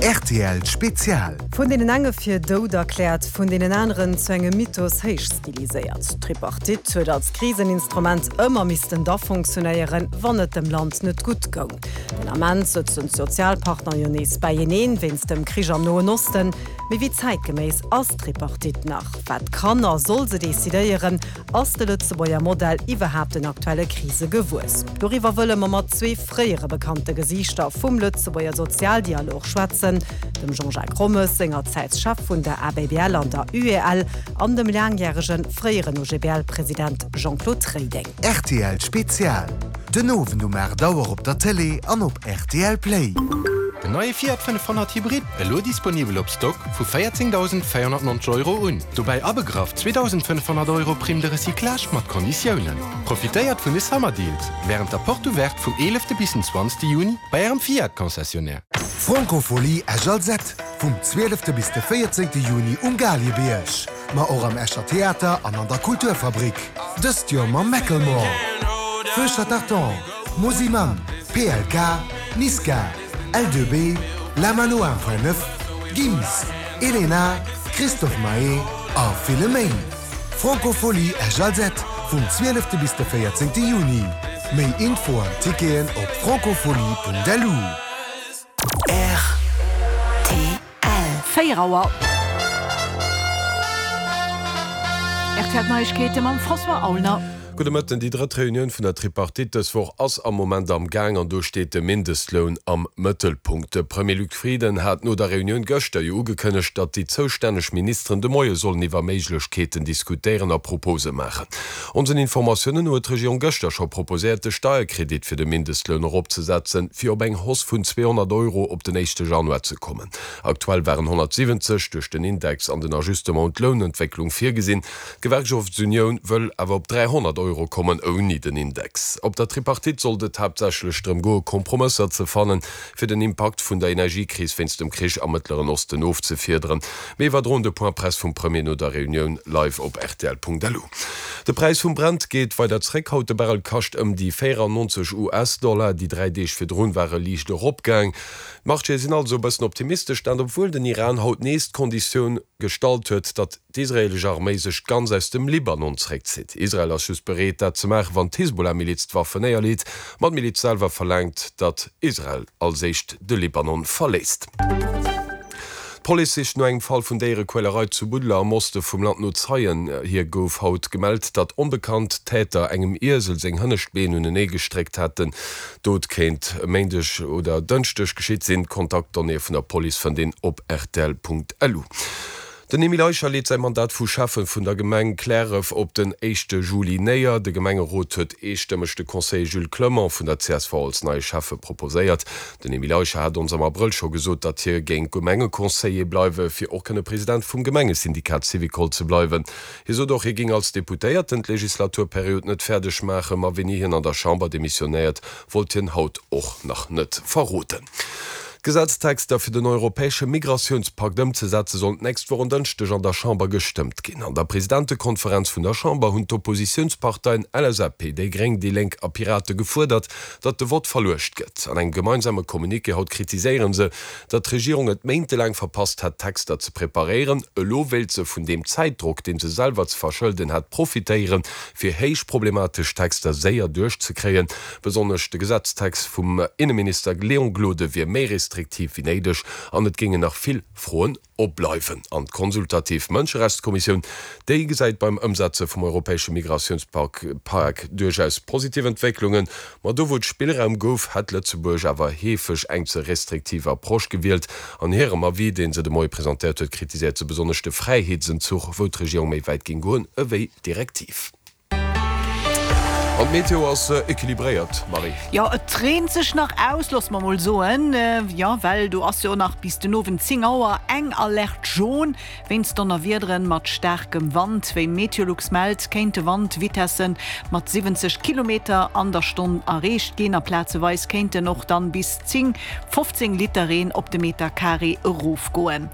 Rtl Spezial. Vun deenen enge fir dout erkläert, vun deenen aneren zu engem Mythos héichstiliséiert. D'Tripartite huet als Kriseninstrument ëmmer missten da fonctionnéieren, wann et dem Land net gutt goung. Den Ament sëtzen d'Sozialpartner jo nees beieneen, wéinst dem Krich am Noen Osten. Mee wéi zäitgeméiss ass d'Tripartite nach? Wat kann a soll se decidéieren? Ass de Lëtzebuerger Modell iwwerhaapt den aktuelle Krise gewuess? Doriwwer wëlle mer mat zwee fréiere bekannte Gesiichter vum Lëtzebuerger Sozialdialog schwätzen, dem Jean-Jacques Rommes, sengerzäits Chef vun der ABBL an der UEL, an dem laangjäregen fréieren OGBL-President Jean-Claude Reding. Rtl Spezial, Den Owend um 8 Auer op der Tëlee an op rtl Play. Den neie Fiat 500 Hybrid, elo disponibel op Stock vu 14.490 Euro un. Dobäi abegraff 2.500 Euro Prime de recyclage mat Konditiounen. Profitéiert vun de Summer Deals wärend der Porte Ouverte vum 11 bis den 20 Juni bei ärem Fiat Concessionnaire. Francophonie Esch-Alzette, vum 12 bis de 14 Juni um Galiebierg, ma och am Escher Theater an an der Kulturfabrik. Dëst Joer mam Macklemore, Feu Chatterton, Mosimann, PLK, Niska, L2B, La Mano 1.9, Gims, Elena, Christophe Maé a ville méi. Francophonie Esch-Alzette vum 12 bis de 14 Juni. Méi Info an Ticketen op francophonie.lu. Rtl. 4 Auer. Rtl Neiegkeete mam François Aulner. Gudde Mëtten. Déi drëtt Reunioun vun der Tripartite dës Woch ass am Moment am Gaang an do steet de Mindestloun am Mëttelpunkt. De Premier Luc Frieden hat no der Reunioun gëschter jo ugekënnegt, datt déi zoustänneg Ministeren de Moie sollen iwwer Méiglechkeeten diskutéieren a Propose maachen. Onsen Informatiounen no huet d'Regierung gëschter scho proposéiert, de Steierkredit fir de Mindestloun eropzesetzen, fir op eng Hausse vun 200 Euro op den éischte Januar ze kommen. Aktuell waren 170 duerch den Index an den Ajustement un d'Lounentwécklung virgesinn. D'Gewerkschaftsunioun wëll awer op 300 Euro kommen, ouni den Index. Op der Tripartite sollt et haaptsächlech drëm goe Kompromësser ze fannen, fir den Impakt vun der Energiekris wéinst dem Krich am Mëttleren Osten ofzefiederen. Mir iwwerdroen de Point Presse vum Premier no der Reunioun live op rtl.lu. De Präis vum Brent geet weider zréck. Haut de Barrel kascht ëm déi 94 US-Dollar. Déi 3 Deeg virdrun war e liicht eropgaang. D'Marchéë sinn also e bëssen optimistesch, dat obwuel den Iran haut nees d'Konditioun gestallt huet, datt d'israeelesch Arméi sech ganz aus dem Libanon zréckzitt. Israel ass just bereet, dat ze maachen, wann d'Hisbollah-Miliz d'Waffen néierleet. Ma d'Miliz selwer verlaangt, datt Israel als éischt de Libanon verléisst. D'Police sicht no engem Fall vun Déierequälerei zu Buddeler am Oste vum Land no Zeien. Hir gouf haut gemellt, datt onbekannt Täter engem Iesel seng hënnescht Been unenee gestréckt hätten. D'Dot kéint e Méindeg oder Dënschdeg geschitt sinn. D'Kontaktdonnéeë vun der Police fënnt een op rtl.lu. Den Emile Eicher leet säi Mandat vu Schäffe vun der Gemeng Cliärref op den éischte Juli néier. De Gemengerot huet eestëmmeg de Conseiller Jules Clement vun der csv als neie Schäffe proposéiert. Den Emile Eicher hat ons am Abrëll scho gesot, datt hie géing Gemengeconseiller bleiwe fir och kënne President vum Gemengesyndikat Syvicol ze bleiwen. Hie sot och, hie géing als Deputéierten d'Legislaturperiod net fäerdeg maachen, ma wéini hien an der Chamber demissionéiert, wollt hien haut och nach net verroden. D'Gesetztexter fir den europäesche Migratiounspakt ëmzesetze sollen d'nächst Woch en Dënschdeg an der Chamber gestëmmt ginn. An der Presidentekonferenz vun der Chamber hunn d'Oppositiounsparteien LSAP, déi Gréng, déi Lénk a Pirate gefuerdert, datt de Vott verluecht gëtt. An engem gemeinsame Communiqué haut kritiséiere se, datt d'Regierung et méintelaang verpasst hätt, d'Texter ze preparéieren. Elo wéilt se vun deem Zäitdrock, dee se selwer ze verschëlden hätt, profitéieren, fir héich problematesch Texter séier duerchzekréien. Besonnesch de Gesetztext vum Inneminister Léon Gloden wier méi restriktiv wéi néideg an et géingen nach vill Froen opbleiwen. An d'konsultativ Mënscherechtskommissioun, déi gesäit beim Ëmsetze vum europäesche Migratiounspak duerchaus positiv Entwécklungen. Ma do wou et Spillraum gouf, hätt Lëtzebuerg awer heefeg eng ze restriktiv Approche gewielt. An hirem Avis, dee se de Moie presentéiert huet, kritiséiert se besonnesch de Fräiheetsenzuch, wou d'Regierung méi wäit géing goen ewéi d'Direktiv. An d'Meteo ass equilibréiert, Marie. Jo, et reent sech nach aus, loosse mer mol soen. Jo, well do ass jo nach bis den Owend 10 Auer eng Alerte jaune wéinst Donnerwiederen mat staarkem Wand. Wéi Meteolux mellt, kéinte Wandvitesse mat 70 Kilometer an der Stonn erreecht ginn a plazeweis kéinten och dann bis 10, 15 Liter Reen op de Meter Carré erofgoen.